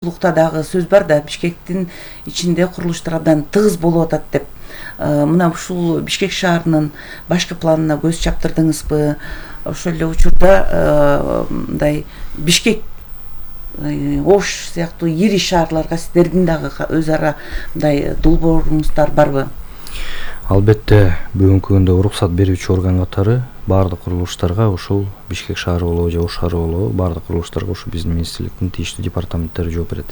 Лукта дагы сөз бар да, Бишкектин ичинде курулуштар абдан тыгыз болуп атат деп. Мына ушул Бишкек шаарынын башкы планына көз чаптырдыңызбы? Ошол эле учурда мындай Бишкек, Ош сыяктуу ири шаарларга сиздердин дагы өз ара мындай долбооруңуздар барбы? Албетте, бүгүнкү күндө уруксат берүүчү орган катары баардык курулуштарга ушул Бишкек шаары болобу же Ош шаары болобу, баардык курулуштарга ушу биздин министрликтин тийиштүү департаменттери жооп берет.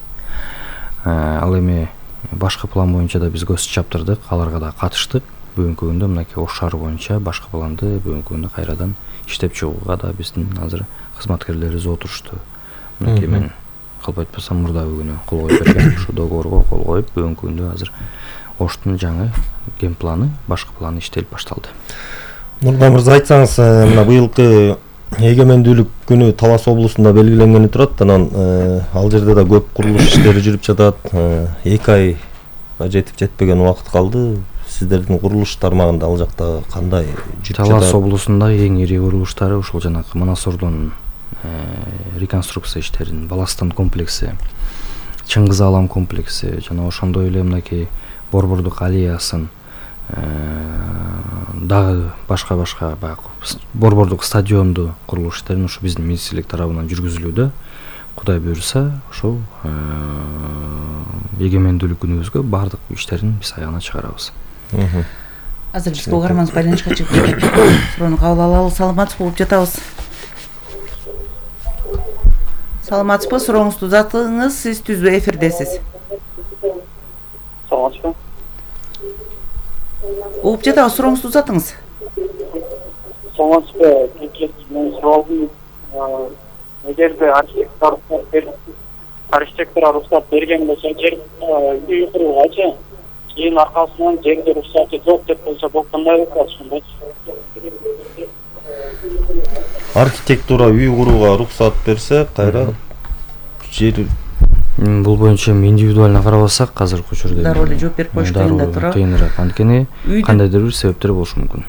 Ал эми башкы план боюнча да биз көз чаптырдык, аларга да катыштык. Бүгүнкү күндө мынакей Ош шаары боюнча башкы планды бүгүнкү күндө кайрадан иштеп чыгууга да биздин азыр кызматкерлерибиз отурушту. Мынакей мен калп айтпасам мурдагы күнү кол коюп берген ушу договорго кол коюп, бүгүнкү күндө азыр Оштун жаңы ген планы, башкы планы иштелип башталды. Нурдан мырза, айтсаңыз, мына быйылкы эгемендүүлүк күнү Талас облусунда белгиленгени турат, анан ал жерде да көп курулуш иштери жүрүп жатат. 2 айга жетпеген убакыт калды. Сиздердин курулуш тармагында ал жакта кандай жүрүп жатат? Талас облусунда эң ири курулуштары ушул жанагы Манасордун реконструкция иштерин, Баластан комплекси, Чыңгыз Алам комплекси, жана ошондой эле мынакей Борбордук аллеясын, дагы башка баягы Борбордук стадионду курулуш иштерин ушу биздин министрлик тарабынан жүргүзүлүүдө. Кудай буйруса, ошол эгемендүүлүк күнүбүзгө баардык иштерин биз аягына чыгарабыз. Азыр бизге угарманыбыз байланышка чыгып жатат. Суроону кабыл алалы. Саламатсызбы, угуп жатабыз. Саламатсызбы, сурооңузду узатыңыз, сиз түздүү эфирдесиз. Саламатсызбы. Угуп жатабыз, сурооңузду узатыңыз. Саламатсызбы, мен суроолдум. Эгерде архитектор рухсат берген болсо, жер үй куруугачы, кийин аркасынан жерде рухсаты жок деп болсо, бул кандай болот ошондой? Архитектура үй курууга рухсат берсе, кайра жер Бул боюнча индивидуально карабасак, азыркы учурда дароо эле жооп берип коюш кыйын да туурабы? Кыйыныраак, анткени кандайдыр бир себептер болушу мүмкүн.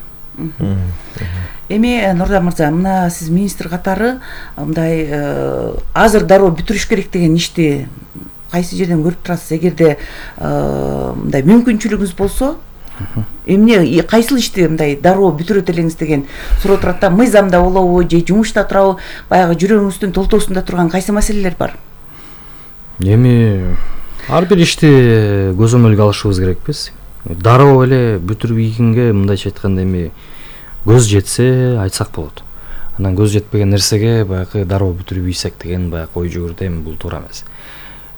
Эми Нурдан мырза, мына сиз министр катары мындай азыр дароо бүтүрүш керек деген ишти кайсы жерден көрүп турасыз? Эгерде мындай мүмкүнчүлүгүңүз болсо, эмне кайсыл ишти мындай дароо бүтүрөт элеңиз деген суроо турат да. Мыйзамда болобу же жумушта турабы? Баягы жүрөгүңүздүн толтоосунда турган кайсы маселелер бар? Эми ар бир ишти көзөмөлгө алышыбыз керекпиз. Дароо эле бүтүрүп ийгенге мындайча айтканда эми көз жетсе айтсак болот. Анан көз жетпеген нерсеге баягы дароо бүтүрүп ийсек деген баягы ой жүгүрдө, эми бул туура эмес.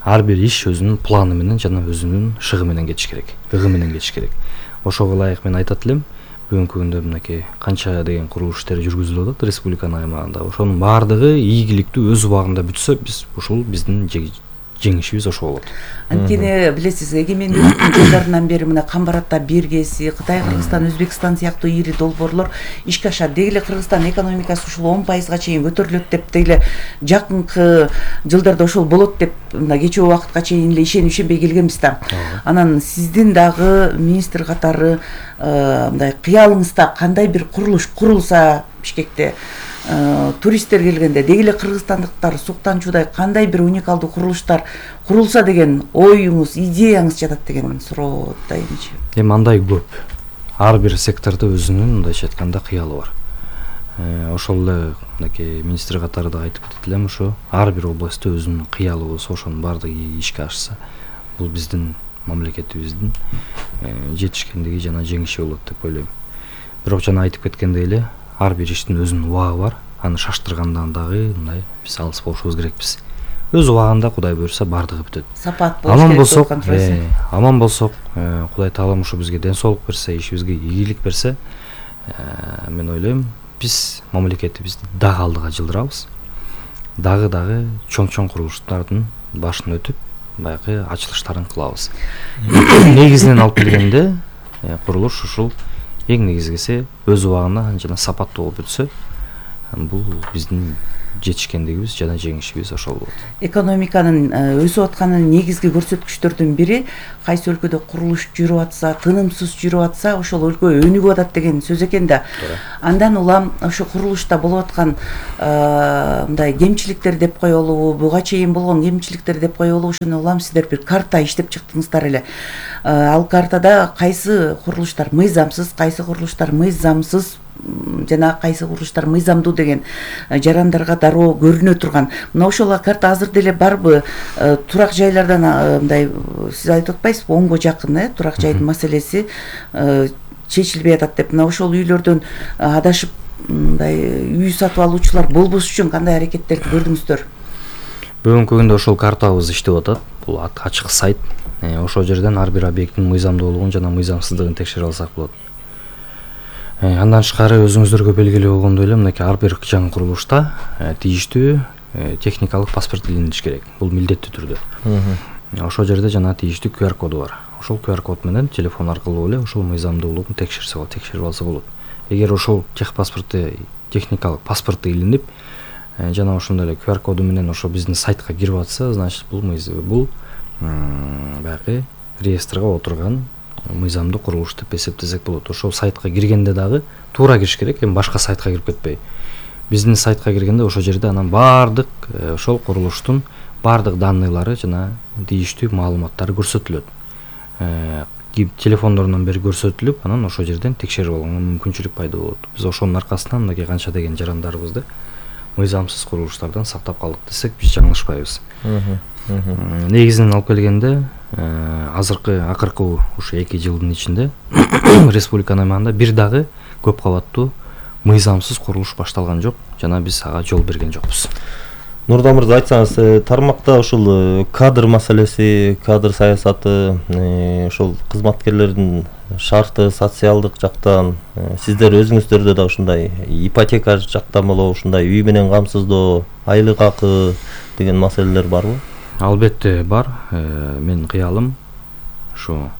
Ар бир иш өзүнүн планы менен жана өзүнүн шыгы менен кетиш керек, ыгы менен кетиш керек. Ошого ылайык мен айтат элем, бүгүнкү күндө мынакей канча деген курулуш иштери жүргүзүлүп атат республиканын аймагында. Ошонун баардыгы ийгиликтүү өз убагында бүтсө, ушул биздин жеңишибиз ошо болот. Анткени билесиз, эгемендүүлүктүн жылдарынан бери мына Камбаратта Биргеси, Кытай, Кыргызстан, Өзбекстан сыяктуу ири долбоорлор ишке ашат. Деги эле Кыргызстан экономикасы ушул 10%га чейин көтөрүлөт деп, деги эле жакынкы жылдарда ошол болот деп мына кечээ убакытка чейин эле ишенбей келгенбиз да. Анан сиздин дагы министр катары мындай кыялыңызда кандай бир курулуш курулса Бишкекте, туристтер келгенде, деги эле кыргызстандыктар суктанчуудай кандай бир уникалдуу курулуштар курулса деген оюңуз, идеяңыз жатат деген суроо да эмичи. Эми андай көп. Ар бир сектордо өзүнүн мындайча айтканда кыялы бар. Ошол эле мынакей министр катары да айтып кетет элем, ошо ар бир областта өзүнүн кыялы болсо, ошонун баардыгы ишке ашса, бул биздин мамлекетибиздин жетишкендиги жана жеңиши болот деп ойлойм. Бирок жана айтып кеткендей эле, ар бир иштин өзүнүн убагы бар. Аны шаштыргандан дагы мындай биз алыс болушубуз керекпиз. Өз убагында Кудай буйруса баардыгы бүтөт. Сапат болуш керек. Аман болсок, Кудай Таалам ушу бизге ден соолук берсе, ишибизге ийгилик берсе, мен ойлойм, биз мамлекетибизди дагы алдыга жылдырабыз. Дагы чоң курулуштардын башын өтүп, баягы ачылыштарын кылабыз. Негизинен алып келгенде, курулуш ушул эң негизгиси өз убагында жана сапаттуу болуп бүтсө, бул биздин жетишкендигибиз жана жеңишибиз ошол болот. Экономиканын өсүп атканын негизги көрсөткүчтөрдүн бири кайсы өлкөдө курулуш жүрүп атса, тынымсыз жүрүп атса, ошол өлкө өнүгүп атат деген сөз экен да. Андан улам ошо курулушта болуп аткан мындай кемчиликтер деп коелубу, буга чейин болгон кемчиликтер деп коелубу, ошону улам сиздер бир карта иштеп чыктыңыздар эле. Ал картада кайсы курулуштар мыйзамсыз, кайсы курулуштар мыйзамсыз жана кайсы курулуштар мыйзамдуу деген жарандарга дароо көрүнө турган. Мына ошол карта азыр деле барбы? Турак жайлардан мындай сиз айтып атпайсызбы, 10го жакын турак жайдын маселеси чечилбей атат деп. Мына ошол үйлөрдөн адашып мындай үй сатып алуучулар болбош үчүн кандай аракеттерди көрдүңүздөр? Бүгүнкү күндө ошол картабыз иштеп атат. Бул ачык сайт. Ошол жерден ар бир объекттин мыйзамдуулугун жана мыйзамсыздыгын текшере алсак болот. Андан тышкары өзүңүздөргө белгилүү болгондой эле мынакей ар бир жаңы курулушта тийиштүү техникалык паспорт илиндириш керек. Бул милдеттүү түрдө. Ошол жерде жана тийиштүү QR коду бар. Ошол QR код менен телефон аркылуу эле ошол мыйзамдуулугун текшерип алса болот. Эгер ошол техникалык паспорту илинип жана ошондой эле QR коду менен ошо биздин сайтка кирип атса, значит бул баягы реестрге отурган мыйзамдуу курулуш деп эсептесек болот. Ошол сайтка киргенде дагы туура кириш керек, эми башка сайтка кирип кетпей. Биздин сайтка киргенде ошол жерде анан баардык ошол курулуштун баардык данныйлары жана тийиштүү маалыматтары көрсөтүлөт. Телефондорунан бери көрсөтүлүп, анан ошол жерден текшерип алганга мүмкүнчүлүк пайда болот. Биз ошонун аркасынан мынакей канча деген жарандарыбызды мыйзамсыз курулуштардан сактап калдык десек биз жаңылышпайбыз. Негизинен алып келгенде акыркы ушу 2 жылдын ичинде республиканын аймагында бир дагы көп кабаттуу мыйзамсыз курулуш башталган жок жана биз ага жол берген жокпуз. Нурдан мырза, айтсаңыз, тармакта ушул кадр маселеси, кадр саясаты, ошол кызматкерлердин шарты, социалдык жактан сиздер өзүңүздөрдө да ушундай ипотека жактан болобу, ушундай үй менен камсыздоо, айлык акы деген маселелер барбы? Албетте бар. Мен кыялым ушу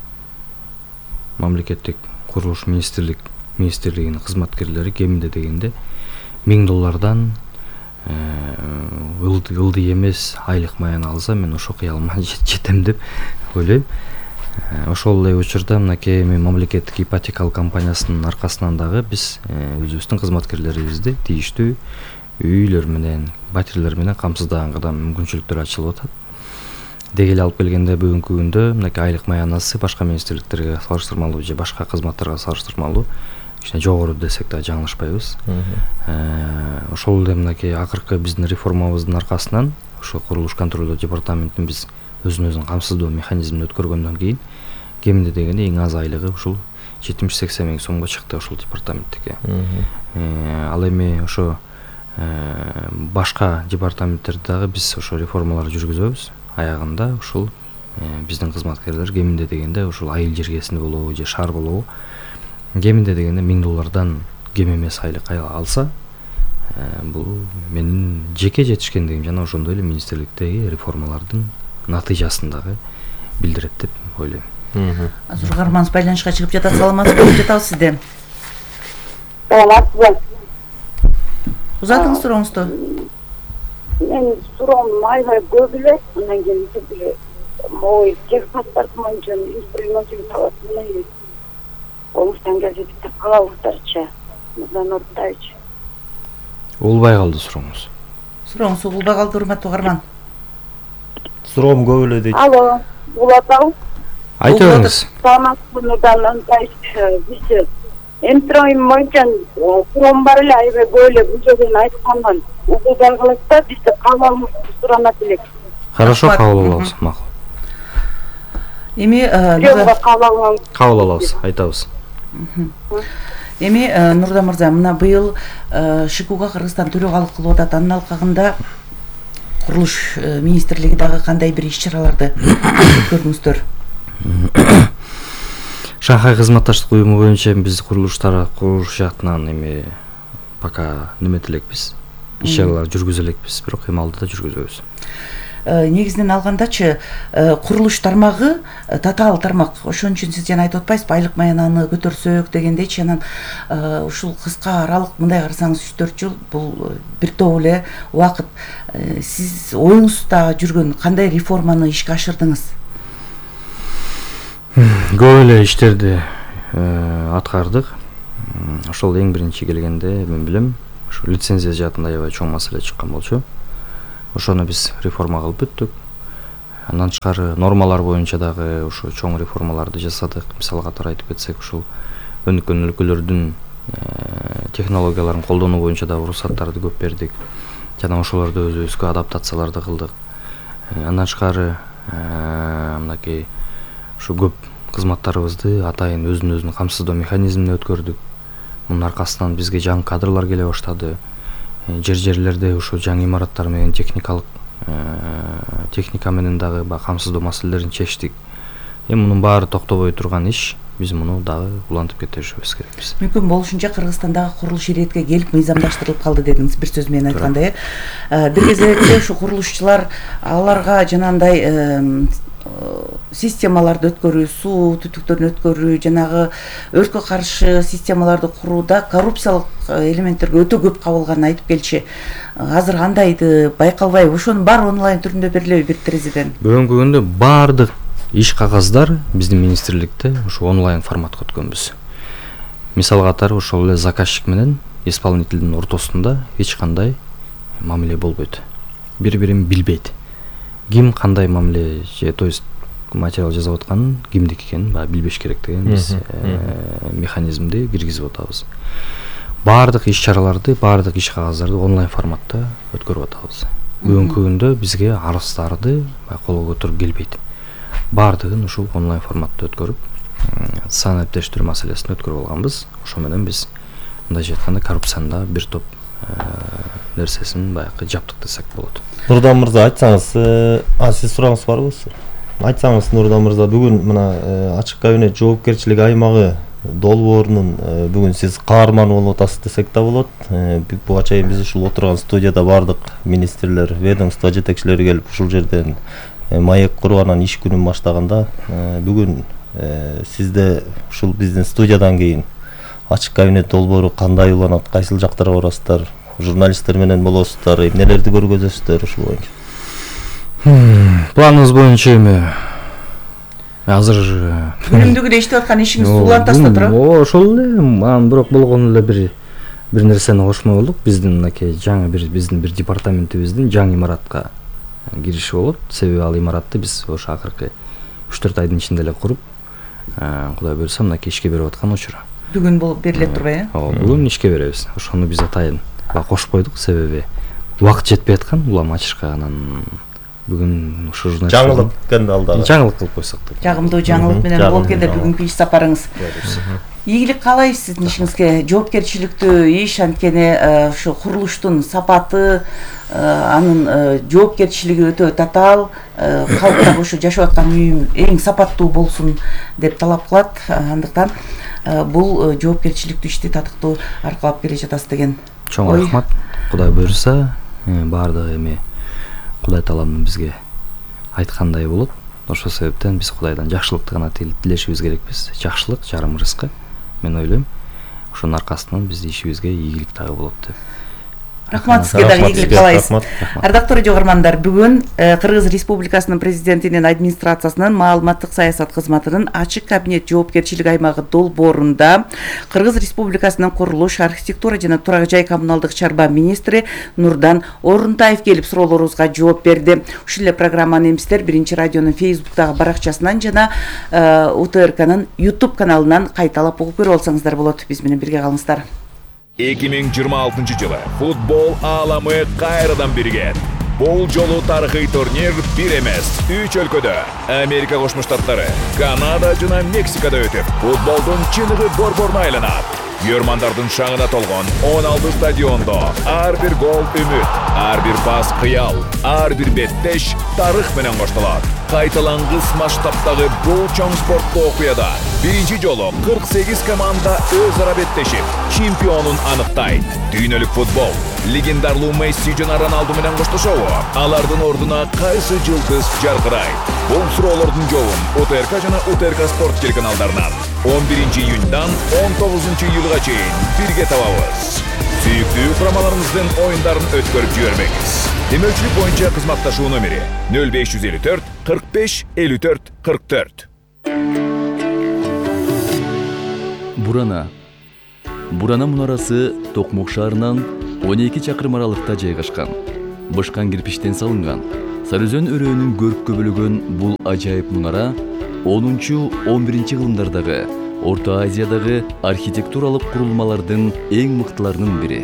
мамлекеттик курулуш министрлигинин кызматкерлери кеминде дегенде $1000 ылдый эмес айлык маян алса, мен ошо кыялыма жетем деп ойлойм. Ошол эле учурда мынакей мамлекеттик ипотекалык компаниясынын аркасынан дагы биз өзүбүздүн кызматкерлерибизди тийиштүү үйлөр менен, батирлер менен камсыздааганга да мүмкүнчүлүктөр ачылып атат. Деги эле алып келгенде бүгүнкү күндө мынакей айлык маянасы башка министрликтерге салыштырмалуу же башка кызматтарга салыштырмалуу кичине жогору десек да жаңылышпайбыз. Ошол эле мынакей акыркы биздин реформабыздын аркасынан ошо курулуш контролдоо департаментин биз өзүн камсыздоо механизмин өткөргөндөн кийин кеминде дегенде эң аз айлыгы ушул 70-80 миң сомго чыкты ошол департаменттики. Ал эми ошо башка департаменттерде дагы биз ошо реформалар жүргүзөбүз. Аягында ушул биздин кызматкерлер кеминде дегенде ушул айыл жергесинде болобу же шаар болобу кеминде дегенде $1000 кем эмес айлык алса, бул менин жеке жетишкендигим жана ошондой эле министрликтеги реформалардын натыйжасын дагы билдирет деп ойлойм. Азыр угарманыбыз байланышка чыгып жатат. Саламатсызбы? Жатабыз сизде. Саламатсызбы? Узатыңыз сурооңузду. Мен суроом аябай көп эле, андан кийин бир могу техпаспорт боюнча инструментин талабын колуштан келсе биздер калабыздарчы, мырзан Нуртаевич. Улбай калды сурооңуз. Сурооңуз угулбай калды, урматтуу угарман. Суроом көп эле дейт. Алло, улатабы? Айта бериңиз. Саламатсызбы, Нурдан Нуртаевич? Биз инструмент боюнча суроом бар эле, аябай көп эле бул жерден айткандан угулбай калат да, бизде кабылыбызды суранат элек. Хорошо, кабыл алабыз, макул. Эми кабыл алабыз, айтабыз. Эми Нурдан мырза, мына быйыл ШИКУга Кыргызстан төрөгалык кылып атат. Анын алкагында курулуш министрлиги дагы кандай бир иш-чараларды өткөрдүңүздөр? Шанхай кызматташтык уюму боюнча биз курулуш жактынан эми пока неметелекпиз. Иш-чаралар жүргүзө элекпиз, бирок эми алдыда жүргүзөбүз. негизинен алгандачы курулуш тармагы татаал тармак. Ошон үчүн сиз жана айтып атпайсызбы, айлык маянаны көтөрсөк дегендейчи, анан ушул кыска аралык, мындай карасаңыз 3-4 жыл бул бир топ эле убакыт. Сиз оюңузда жүргөн кандай реформаны ишке ашырдыңыз? Көп эле иштерди аткардык. Ошол эң биринчи келгенде мен билем, ушу лицензия жаатында аябай чоң маселе чыккан болчу. Ошону биз реформа кылып бүттүк. Андан тышкары нормалар боюнча дагы ушу чоң реформаларды жасадык. Мисалы катары айтып кетсек, ушул өнүккөн өлкөлөрдүн технологияларын колдонуу боюнча дагы уруксаттарды көп бердик. Жана ошолорду өзүбүзгө адаптацияларды кылдык. Андан тышкары мынакей ушу көп кызматтарыбызды атайын өзүн камсыздоо механизмине өткөрдүк. Мунун аркасынан бизге жаңы кадрлар келе баштады. Жерлерде ушу жаңы имараттар менен техника менен дагы камсыздоо маселелерин чечтик. Мунун баары токтобой турган иш. Биз муну дагы улантып кетишибиз керекпиз. Мүмкүн болушунча Кыргызстандагы курулуш иретке келип мыйзамдаштырылып калды дедиңиз бир сөз менен айтканда. Бир кезекте ушу курулушчулар аларга жанагындай системаларды өткөрүү, суу түтүктөрүн өткөрүү, жанагы өрткө каршы системаларды курууда коррупциялык элементтерге өтө көп кабылганын айтып келчи. Азыр кандайды байкалбайбы? Ошонун баары онлайн түрүндө берилеби бир терезеден? Бүгүнкү күндө баардык иш кагаздар биздин министрликте ушу онлайн форматка өткөнбүз. Мисал катары ошол эле заказчик менен исполнительдин ортосунда эч кандай мамиле болбойт. Бири-бирин билбейт. Ким кандай мамиле, то есть материал жазып атканын кимдики экенин билбеш керек деген биз механизмди киргизип атабыз. Баардык иш-чараларды, баардык иш кагаздарды онлайн форматта өткөрүп атабыз. Бүгүнкү күндө бизге арыздарды колго көтөрүп келбейт. Баардыгын ушул онлайн форматта өткөрүп, санаптештирүү маселесин өткөрүп алганбыз. Ошо менен биз мындайча айтканда коррупцияны бир топ нерсесин баягы жаптык десек болот. Нурдан мырза, айтсаңыз, сиз сурагыңыз барбы? Айтсаңыз, Нурдан мырза, бүгүн мына ачык кабинет жоопкерчилик аймагы долбоорунун бүгүн сиз каарманы болуп атасыз десек да болот. Буга чейин биз ушул отурган студияда бардык министрлер, ведомство жетекчилери келип ушул жерден маек куруп анан иш күнүн баштаганда, бүгүн сизде ушул биздин студиядан кийин ачык кабинет долбоору кандай уланат, кайсыл жактарга барасыздар, журналисттер менен болосуздар, эмнелерди көргөзөсүздөр ушул боюнча? Планыңыз боюнча эми азыр күнүмдүк иштеп аткан ишиңизди улантасыз да туурабы? Ошол эле, анан бирок болгону эле бир нерсени кошмой болдук. Биздин мынакей жаңы биздин бир департаментибиздин жаңы имаратка кириши болот. Себеби ал имаратты биз ошо акыркы 3-4 айдын ичинде эле куруп, Кудай буйрса мынакей ишке берип аткан учур. Бүгүн бул берилет турбайбы? Бүгүн ишке беребиз. Ошону биз атайын кошуп койдук, себеби убакыт жетпей аткан улам ачышка. Анан бүгүн ушу журналист жаңылык экен алдагы. Жаңылык кылып койсок деп. Жагымдуу жаңылык менен болуп келди бүгүнкү иш сапарыңыз. Ийгилик каалайбыз сиздин ишиңизге. Жоопкерчиликтүү иш, анткени ушу курулуштун сапаты, анын жоопкерчилиги өтө татаал, калк дагы ушу жашап аткан үйүм эң сапаттуу болсун деп талап кылат. Андыктан бул жоопкерчиликтүү ишти татыктуу аркалап келе жатасыз деген. Чоң рахмат. Кудай буйрса, баардыгы эми Кудай тааланын бизге айткандай болот. Ошол себептен биз Кудайдан жакшылыкты гана тилешибиз керекпиз. Жакшылык жарым рызкы. Мен ойлойм, ошонун аркасынан биздин ишибизге ийгилик дагы болот деп. Рахмат сизге дагы ийгилик каалайбыз. Ардактуу радио көрөрмандар, бүгүн Кыргыз Республикасынын президентинин администрациясынын маалыматтык саясат кызматынын ачык кабинет жоопкерчилик аймагы долбоорунда Кыргыз Республикасынын курулуш, архитектура жана турак жай коммуналдык чарба министри Нурдан Орунтаев келип суроолорубузга жооп берди. Ушул эле программаны эмсиздер Биринчи радионун Facebook'тагы баракчасынан жана УТРКнын YouTube каналынан кайталап угуп көрүп алсаңыздар болот. Биз менен бирге калыңыздар. 2026 жылы футбол ааламы кайрадан биригет. Бул жолу тарыхый турнир бир эмес, 3 өлкөдө Америка Кошмо Штаттары, Канада жана Мексикада өтүп, футболдун чыныгы борборуна айланат. Көрмандардын шаңына толгон 16 стадиондо ар бир гол үмүт, ар бир пас кыял, ар бир беттеш тарых менен коштолот. Кайталангыс масштабтагы бул чоң спорттуу окуяда биринчи жолу 48 команда өз ара беттешип, чемпионун аныктайт. Дүйнөлүк футбол Легендарлуу Месси жана Роналду менен коштошобу? Алардын ордуна кайсы жылдыз жаркырайт? Бул суроолордун жообун УТРК жана УТРК спорт телеканалдарынан 11-июндан 19-июлга чейин бирге табабыз. Сүйүктүү курамаларыңыздын оюндарын өткөрүп жибербеңиз. Демөөлчүлүк боюнча кызматташуу номери 0554 45 54 44. Бурана мунарасы Токмок шаарынан 12 чакырым аралыкта жайгашкан. Бышкан кирпичтен салынган. Сарыөзөн өрөөнүн көрккө бөлөгөн бул ажайып мунара 10-11 кылымдардагы Орто Азиядагы архитектуралык курулмалардын эң мыктыларынын бири.